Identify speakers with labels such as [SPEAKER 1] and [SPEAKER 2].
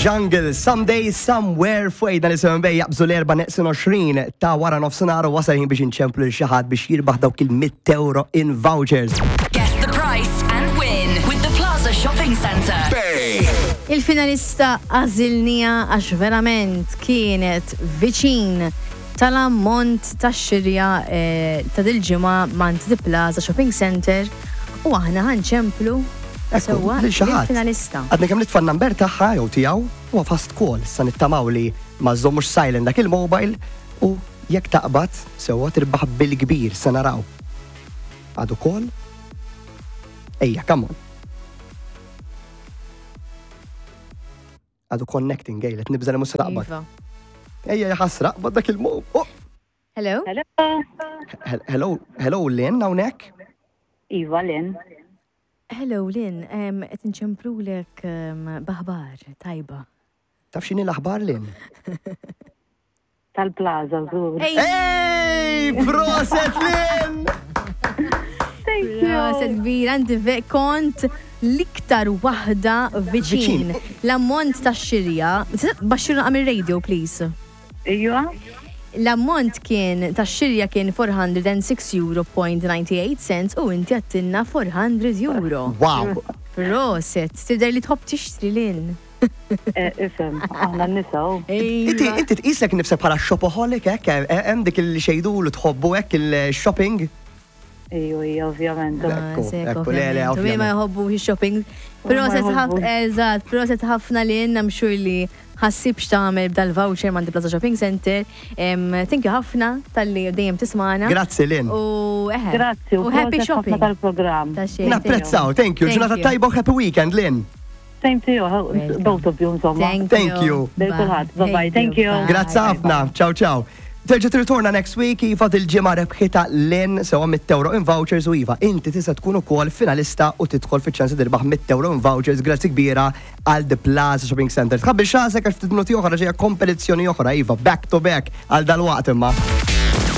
[SPEAKER 1] Jungle, Someday, Somewhere, fuq 97 Bay jaqbżu l-erba' neqsin 20 ta' wara nofsinhar u wasal ħin biex inċemplu lil xi ħadd biex jirbaħ dawk il-100 euro in vouchers.
[SPEAKER 2] Guess the price and win with the Plaza Shopping Centre.
[SPEAKER 3] Bay.
[SPEAKER 4] Il-finalista għażilniha għax verament kienet viċin tal-ammont tax-xirja eh, ta' dil-ġimgħa mant The Plaza Shopping Centre u aħna ħa nċemplu sewwa
[SPEAKER 1] lil xi ħadd.
[SPEAKER 4] lill-finalista.
[SPEAKER 1] Għadna kemm nitfa' n-number tagħha jew tiegħu huwa fast call, issa nittamaw li ma żommux silent dak il-mobile u jekk taqbad sewwa tirbaħ bil-kbir se naraw. Għadu call? Ejja, come on. Għadu connecting, ejlet, nibża li mhux se taqbad.
[SPEAKER 4] Iva.
[SPEAKER 1] Ejja, jaħasra, qbad dak il-mobile. Oh!
[SPEAKER 4] Hello?
[SPEAKER 5] Hello.
[SPEAKER 1] Hello, hello Lynn hawnhekk?
[SPEAKER 5] Iva, Lynn.
[SPEAKER 4] Hello Lynn, em, qed inċemplulek em, b'aħbar tajba.
[SPEAKER 1] Taf x'inhi l-aħbar Lynn?
[SPEAKER 5] Tal-Plaza, żgur.
[SPEAKER 1] Ej, proset Lynn!
[SPEAKER 5] Thank you.
[SPEAKER 4] Proset kbira, inti ve- kont l-iktar waħda viċin.
[SPEAKER 1] Viċin.
[SPEAKER 4] L-ammont ta' xirja, baxxirna għamil radio, please.
[SPEAKER 5] Iva?
[SPEAKER 4] L-ammont kien ta' xirja kien 406 euro point 98 cents u inti għattinna 400 euro.
[SPEAKER 1] Wow!
[SPEAKER 4] Proset, tidher li tħobb tixtri Lynn.
[SPEAKER 5] Eh, Isem, aħna n-nisa. u.
[SPEAKER 1] Inti
[SPEAKER 4] Iva.
[SPEAKER 1] inti tqisek nifsek bħala shopaholic hekk eh, hemm dik il xejdu li tħobbu hekk il-shopping?
[SPEAKER 5] Iju, iju, ovvjament.
[SPEAKER 1] Ekku,
[SPEAKER 4] Sekk,
[SPEAKER 1] ekku, le, le,
[SPEAKER 4] ovvjament. U min ma
[SPEAKER 1] ovvjament.
[SPEAKER 4] jħobbu shopping. Proset
[SPEAKER 5] ma
[SPEAKER 4] ħafna,
[SPEAKER 5] jħobbux.
[SPEAKER 4] eżatt, proset ħafna li jenna mxur li ħassib x'tagħmel b'dal-voucher mandi Plaza Shopping Center. Em, Thank you ħafna tal-li dejjem tismana.
[SPEAKER 1] Grazzi Lynn.
[SPEAKER 4] U eħe.
[SPEAKER 5] Grazzi,
[SPEAKER 4] U happy
[SPEAKER 5] proset ħafna
[SPEAKER 4] shopping.
[SPEAKER 5] tal-programm.
[SPEAKER 4] Ta' xejn.
[SPEAKER 1] Napprezzaw, thank you.
[SPEAKER 4] Thank
[SPEAKER 1] Ġurnata
[SPEAKER 4] you.
[SPEAKER 1] tajba u happy weekend, Lynn.
[SPEAKER 5] Same to you,
[SPEAKER 4] Welcome.
[SPEAKER 5] both of you, insomma.
[SPEAKER 4] Thank
[SPEAKER 1] Thank you.
[SPEAKER 5] Lil kulħadd. Bye-bye. Thank you.
[SPEAKER 4] Bye.
[SPEAKER 1] Grazzi ħafna. Ciao, ciao. Terġa' tirritorna next week Iva dil-ġimgħa rebħita Lynn sewa 100 euro in vouchers u Iva inti tista' tkun ukoll finalista u tidħol fiċ-ċans li tirbaħ 100 euro in vouchers grazzi kbira għal The Plaza Shopping Center. Tħabbil xasek għax ftit minuti oħra ġejja kompetizzjoni oħra Iva back to back għal dal-waqt imma.